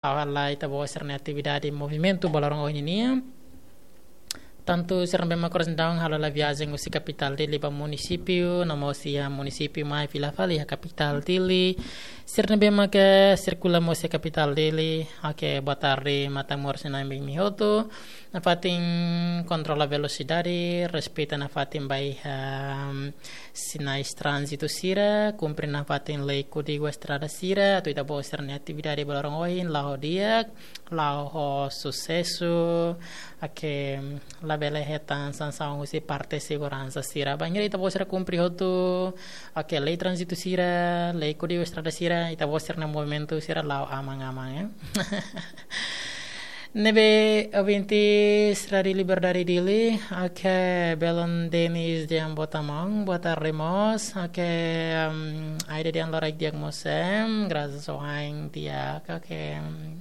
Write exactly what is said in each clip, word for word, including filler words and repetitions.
Halo ita-boot sira-nia atividade movimentu ba loron ohin nian. Tantu sira ne'ebé mak oras daudaun halo hela viajen husi kapitál Dili ba munisípiu, no mós iha munisípiu mai fila fali iha kapitál Dili. Sira ne'ebé mak sirkula mós iha kapitál Dili. Oke, boa tarde, matan-moras na'in ba imi hotu. Nafatin kontrola velosidade, respeita nafatin ba iha, em, sinais tránzitu sira, kumpre nafatin lei kódigu estrada sira, atu ita-boot sira-nia atividade ba loron ohin la'o di'ak, la'o ho susesu, oke, labele hetan sansaun husi parte seguransa sira. Bainhira ita-boot sira kumpre hotu, oke, lei tránzitu sira, lei kódigu estrada sira, ita-boot sira-nia movimentu sira la'o aman-aman, ya. Ne'ebé ouvintes Rádiu Liberdade Dili, oke, belun Denis dehan boa tarde, boa tarde mós, oke, em, Aida dehan loraik di'ak mós, em, grasas a Deus di'ak, oke, em,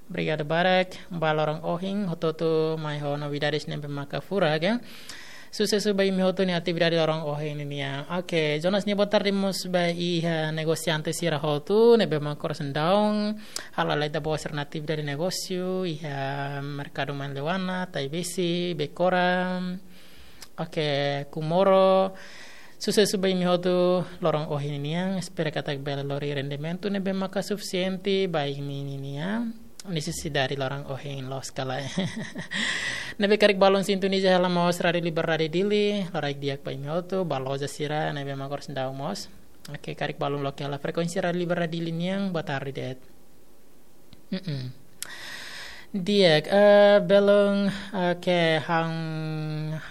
obrigadu barak, ba loron ohin, hotu-hotu mai ho novidades ne'ebé maka furak, ya. Susesu ba imi hotu nia atividade loron ohin nian. Oke, Jonas nia boa tarde mós ba iha negosiante sira hotu, ne'ebé mak oras daudaun halo hela ita-boot sira-nia atividade negósiu, iha merkadu Manleuana, Taibesi, Becora, oke, Comoro. Susesu ba imi hotu loron ohin nian, espera katak bele lori rendimentu ne'ebé maka sufisiente ba imi ninia nesesidade loron ohin loos ka lae. Ne'ebé karik balun sintoniza hela mós Rádiu Liberdade Dili, loraik di'ak ba imi hotu, ba loja sira ne'ebé mak oras daudaun mós. Oke, karik balun loke hela frekuénsia Rádiu Liberdade Dili nian, boa tarde de'it. Mm-mm. Di'ak, eh, belun, oke, Han,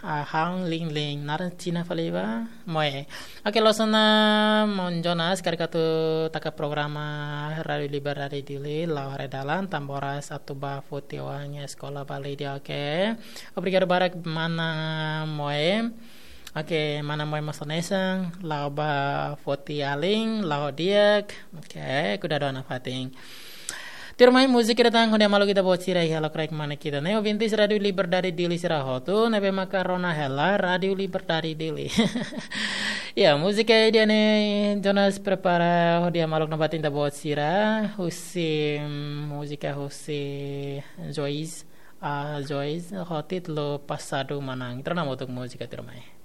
ah, Han Ling Ling, naran Xina fali ba? Moe. Oke, loos ona maun Jonas, karik atu taka programa Rádiu Liberdade Dili la'o haree dalan, tanba oras atu bá foti oan iha eskola ba Lídia, oke. Obrigadu barak mana Moe. Oke, mana Moe mós hanesan, la'o bá foti alin, la'o di'ak. Oke, kuidadu ona fatin. Tuirmai, múzika datang hodi hamaluk ita-boot sira iha lokraik mane ita-nia ouvintes Rádiu Liberdade Dili sira hotu, ne'ebé maka rona hela Rádiu Liberdade Dili. Ya, múzika ida-ne'e Jonas prepara hodi hamaluk nafatin ita-boot sira, husi, mm, múzika husi Joyce, ah, Joyce, ho títulu Passado Manán. Ita rona hamutuk múzika tuirmai.